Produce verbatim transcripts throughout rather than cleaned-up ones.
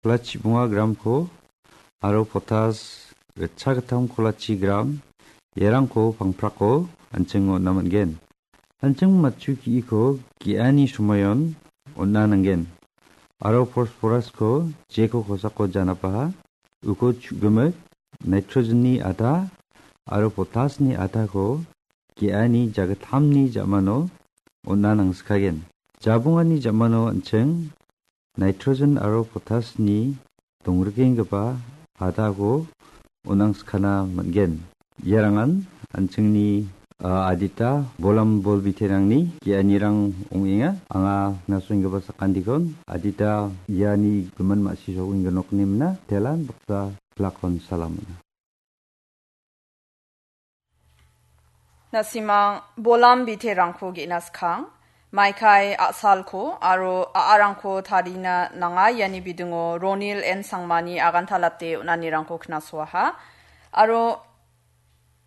kolachi bonga gramko aro potas ritchagittam kolachi gram, iarangko pangprako an·ching on·na man·gen. An·ching matchu ge·iko ge·ani somoion on·na nanggen. Aro phosphorus-ko jeko kosako janapaha, uko chu·gimik, nitrogen-ni ada aro potas-ni adako ge·ani jagittamni ja·mano on·na nangskagen. Jabongani ja·mano an·ching nitrogen aro potas-ni dongrikenggipa adako on·angskana man·gen. Iarangan an·chingni, a, adita bolam bolbiterangni ge·anirang ong·enga. Anga nasoenggipa sakantiko adita iani gimin ma·si sokenggipa nokni mina telan baksa plakon salamona. Na·simang bolam biterangko ge·na skang, maikai a·salko aro a·arangko tarina nanga iani bidingo Ronil N Sangmani agantalate on·anirangko knasoaha. Aro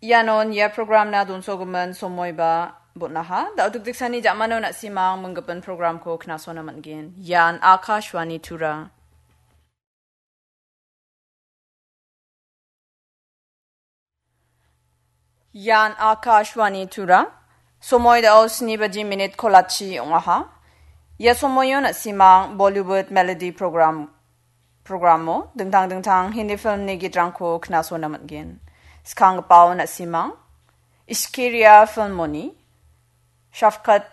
ianon ia programna donsogimin somoiba bon·aha. Da·o dikdiksani ja·mano na·simang minggipin programko knasona man·gen. Ian Akashvani Tura. Ian Akashvani Tura. Somoi da·o sni baji minit kolachi ong·aha. Ia somoio na·simang Bollywood Melody program, programo dingtang dingtang Hindi filmni gitrangko knasona man·gen. Skanggipao na·simang Ishkiria filmoni Shafqat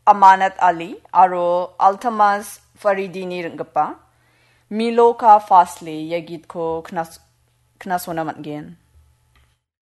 Amanat Ali aro Altamas Faridini ring·gipa Milo Ka Fasle ia gitko knas-, knasona man·gen.